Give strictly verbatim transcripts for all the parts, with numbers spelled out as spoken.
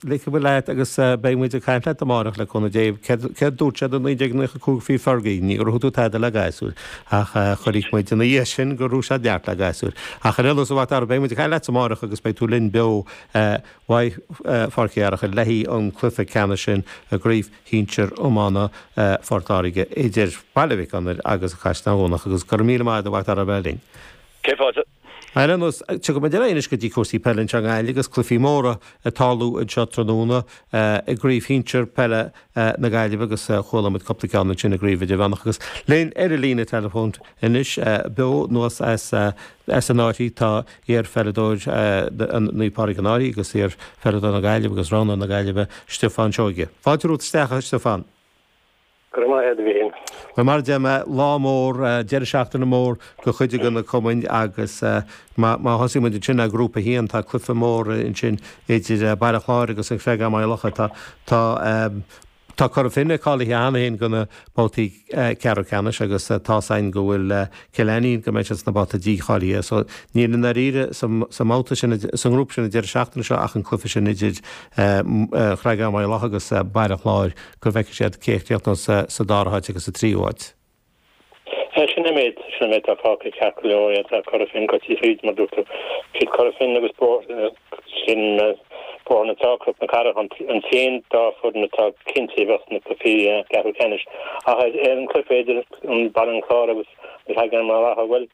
Ligfidh muid leat agus beidh muid ag caint leat amárach le cúnamh Dé. Céard dúirt siad i naoi déag nócha cúig faoi Fergie? Ní gur thug tú tada le gasúir ach chonaic muid ina dhiaidh sin gur thug siad neart le gasúir. Ach ar aon nós, a Mhac Dara, beidh muid ag caint leat amárach agus beidh tú linn beo uaidh Pháirc Uí Fhearachail le haghaidh an cluiche ceannais sin i gCraobh Shinsir Iomána Phort Láirge idir Baile Mhic Gonair agus Caisleán Dhomhnach agus go raibh míle maith agat a Mhac Dara a bheith linn. Cé fáilte. Ar aon nós, tiocfaidh muid ar aghaidh anois go dtí cúrsaí peile anseo i nGaillimh agus cluichí móra ag tarlú anseo tráthnóna i gCraobh Shinsir Peile na Gaillimhe agus chuala muid cúpla ceann ansin i gCraobh Idirmheánach agus linn ar an líne teileafóin anois beo anuas as as an Fhairche tá iar-pheileadóir Naomh Pádraig an Fhairche agus iar-pheileadóir na Gaillimhe agus roghnóir na Gaillimhe Stiofán Seoige. Fáilte romhat isteach a Stiofán. Go raibh maith agat a Mhíchíl. Bhuel mar a deir mé, lá mór, deireadh seachtaine mór do chuid de na cumainn agus má thosaíonn muid ansin le Grúpa a haon, tá cluiche mór ansin idir Baile Chláir agus an Creagán Maigh Locha. Tá tá tá Cora Finne cáilithe cheana féin do na babhtaí ceathrú ceannais agus tá's againn go bhfuil Cill Ainnín go mbeidh siad sna babhtaí dícháilithe. So níl i ndáiríre sa sa mbabhta sin sa ngrúpa sin an deireadh seachtaine seo ach an cluiche sin idir Creagán Maigh Locha agus Baile Chláir go bhfeicfidh siad cé a chríochnós sa dara háit agus sa tríú háit. Sin é an méid, sin an méid atá fágtha ceart go leor, tá Cora Finne gaibhte thríd mar dúirt tú. Siad Cora Finne agus Bóthar sin Bóthar na Trá, Cnoc na Cathrach an t-aon dá foireann atá cinnte a bheith sna cluichí ceathrú ceannais. Ach ar an cluiche idir an Baile an Chláir agus an Creagán Maigh Locha, bhuel,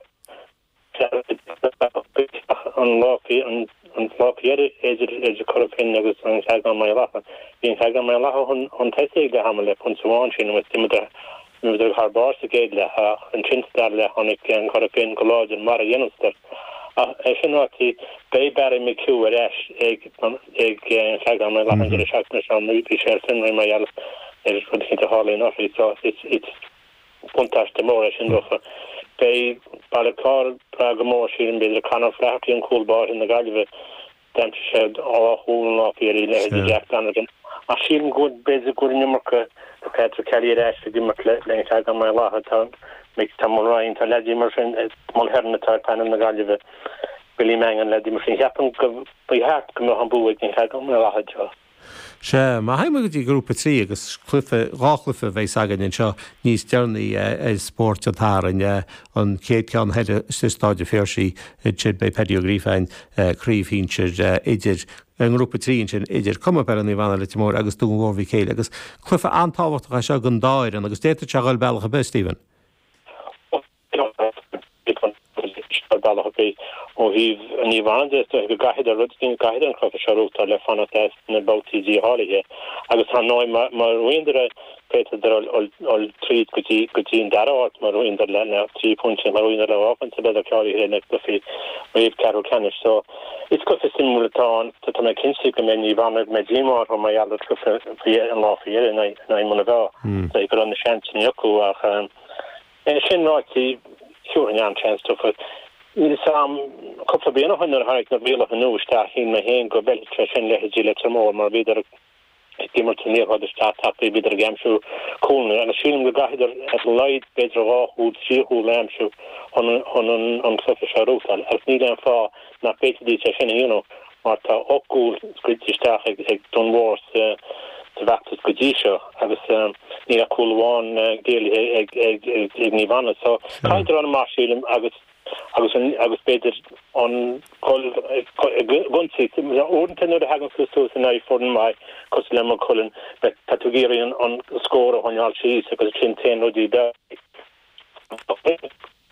An lá an lá faoi dheireadh idir idir Cora Finne agus an Creagán Maigh Locha. Bhí an Creagán Maigh Locha chun chun tosaigh ag leath ama le pointe amháin sin agus d'imíodar d'imíodar thar barr sa gcéad leath ach ansin sa dara leath tháinig an Cora Finne go láidir mar a dhéanann Ach é sin ráite beidh Barry McHugh ar ais ag ag an Creagán Maigh Locha an deireadh seachtaine seo bhí sé ar fionraí mar gheall ar rud eicínt a tharla anuraidh so it's it's buntáiste mór é sin dófa. Beidh Baile Chláir ag brath go mór, sílim, b'fhéidir Conor Flaherty an cúl báire na Gaillimhe, d'aimsigh sé dhá chúl an lá faoi dheireadh, leithéidí Jack Donegan. Ach sílim go bhfuil, b'fhéidir go bhfuil an iomarca de Patrick Kelly ar ais ag imirt le an Creagán Maigh Locha. Tá Mick, tá Mulryan, tá leaidí mar sin, Mulhern atá ar panel na Gaillimhe, Billy Mangan, leaidí mar sin. Cheapaim go ba cheart go mbeadh an bua ag an Creagán Maigh Locha anseo. Sea, má théann muid go dtí Grúpa a trí agus cluiche, dhá chluiche a bheas againn anseo níos deireanaí ar Spórt an tSathairn, an chéad cheann thoir sa Staid an Phiarsaigh, ansin beidh Paddy Ó Gríofa, craobh shinsir idir, i nGrúpa a trí ansin, idir Cumann Peile Naomh Anna Leitir Móir agus Dún Mhór Mhic Éil agus cluiche an-tábhachtach é seo don dá fhoireann agus d'fhéadfadh sé a dhul bealach ar bith, Stephen. Ar bealach ar bith, ó thaobh Naomh Anna de, is dóiche go gcaithfidh rud éigin, caithfidh an cluiche seo a ghnóthachtáil le fanacht as na babhtaí dícháilithe agus ar ndóigh má bhuann é féadfaidh dul dul tríd go dtí go dtí an dara háit má bhuann le le trí phointe, má bhuann le dhá phointe beidh cáilithe le cluichí réamh ceathrú ceannais. So is cluiche suimiúil atá ann. Tá mé cinnte go mbeidh Naomh Anna go mbeidh díomá orthu mar gheall ar chluiche faoi an lá faoi dheireadh in aghaidh Muine Mheá. Go raibh na seansanna acu ach É sin ráite, thiúrfainn an-seans dófa. Níl 'fhios a'm, cúpla bliain ó shin nuair a tháinig na rialacha nua isteach shíl mé féin go bhfeilfeadh sé sin leithéidí Leitir Móir mar bhíodar ag imirt an liathróid isteach tapaidh, bhíodar ag aimsiú cúlanna agus sílim go gcaithfeadar ar a laghad b'fhéidir dhá chúl, trí chúl a aimsiú chun chun an cluiche seo a ghnóthachtáil agus níl aon fáth nach bhféadfaidís é sin a dhéanamh mar tá ocht gcúl scaoilte isteach ag Dún Mór sa bhfeachtas go dtí seo agus níl ach cúl amháin géillithe ag Naomh Anna. So caithfidh dul amach sílim agus agus agus b'fhéidir an dul ag ionsaí. Uaireanta nuair a thagann tú suas in aghaidh foireann maith cosúil le Maigh Cuilinn tá tú ag iarraidh an scór a choinneáil síos agus sin téann rudaí beag.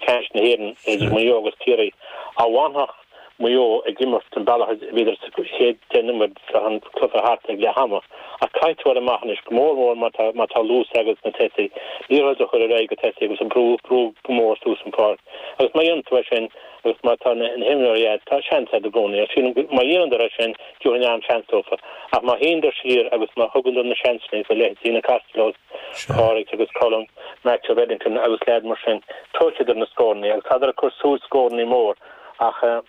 Ceannais na hÉireann idir Maigh Eo agus Ciarraí. Dá bhfanfadh Maigh Eo ag imirt an bealach a bhíodar sa chéad deich nóiméad bheadh an cluiche thart ag leath ama. Ach caithfidh tú dul amach anois, go mór mór má tá má tá luas agat sna tosaithe, liathróid a chur ar aghaidh go tosaithe agus a brú brú go mór suas an pháirc. Agus má dhéanann tú é sin agus má tá na himreoirí agat, tá seans agat i gcónaí. Agus sílim má dhéanann é sin, tiúrfainn an-seans dófa. Ach má shuíonn siar agus má thugann na seansanna do leithéidí na Costellos, Pádraig agus Colm, Matthew Reddington agus leaid mar sin, tógfaidh siad na scóranna agus tádar ag cur suas scóranna mór ach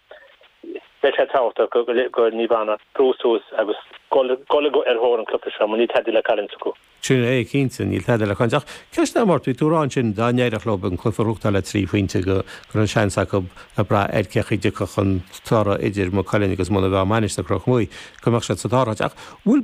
Beidh sé tábhachtach go Naomh Anna brú suas agus dul ar thóir an chluiche seo mar níl tada le cailliúint acu. Sin é, cinnte, níl tada le cailliúint. Ach ceist eile, bhí tú ag rá ansin dá n-éireodh leo an cluiche a ghnóthachtáil le trí phointe go raibh seans acu ag brath ar cé chaoi a dtiocfadh an toradh idir Maigh Cuilinn agus Muine Mheá Mainistir Chnoc Muaidh go mbeadh siad sa dara háit. Ach bhfuil